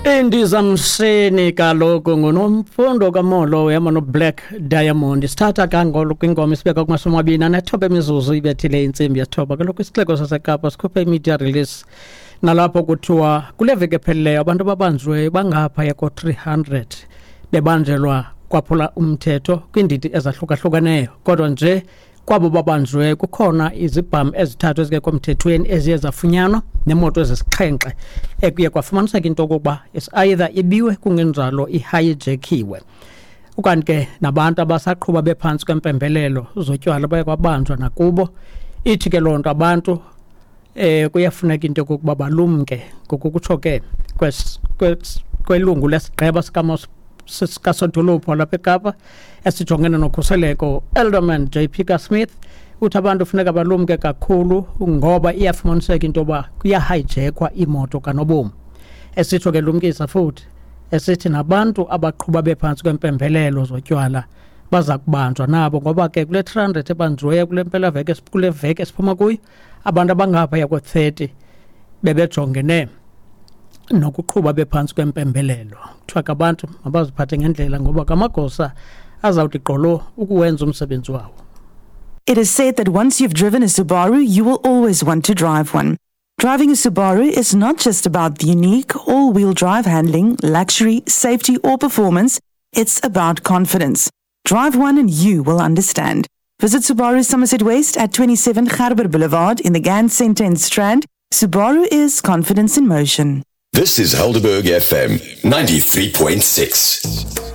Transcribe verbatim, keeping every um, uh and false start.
Indizamshini kaloku nguNomfundo Kamolo uhamba noBlack Diamond. Sithatha kangolo kwingoma isibeka kumashumi amabini anethoba imizuzu ibethile intsimbi yesithoba. Kaloku isixeko saseKapa sikhuphe i-media release nalapho kuthiwa kule veki ephelileyo abantu ababanjiweyo bangaphaya ko-three hundred bebanjelwa kwaphula umthetho kwiindidi ezahlukahlukeneyo. Kodwa nje kwabo babanjiweyo kukhona izibhamu ezithathu ezingekho mthethweni eziye zafunyanwa nemoto ezisixhenxe ekuye kwafumaniseka into yokokuba is either ibiwe kungenjalo ihijackiwe. Ukanti ke nabantu abasaqhuba bephantsi kwempembelelo zotywala baye kwabanjwa nakubo. Ithi ke loo nto abantu eh kuyafuneka into yokokuba balumke ngokukutsho ke kwelungu lesigqeba sikasodolophu walapha eKapa esijongene nokhuseleko Alderman J P Smith uthi abantu funeka balumke kakhulu ngoba iyafumaniseka into yoba kuyahijackwa imoto kanobomi. Esitsho ke lumkisa futhi esithi nabantu abaqhuba bephantsi kwempembelelo zotywala baza kubanjwa nabo ngoba ke kule three hundred ebanjiweyo kule mpelaveki kule veki esiphuma kuyo abantu abangaphaya ko-thirty bebejongene nokuqhuba bephantsi kwempembelelo. Kuthiwa ke abantu mabaziphathe ngendlela ngoba kamagosa azawuthi gqolo ukuwenza umsebenzi wawo. It is said that once you've driven a Subaru, you will always want to drive one. Driving a Subaru is not just about the unique all-wheel drive handling, luxury, safety or performance. It's about confidence. Drive one and you will understand. Visit Subaru Somerset West at twenty-seven Gerber Boulevard in the Gans Centre in Strand. Subaru is confidence in motion. This is Helderberg F M ninety-three point six.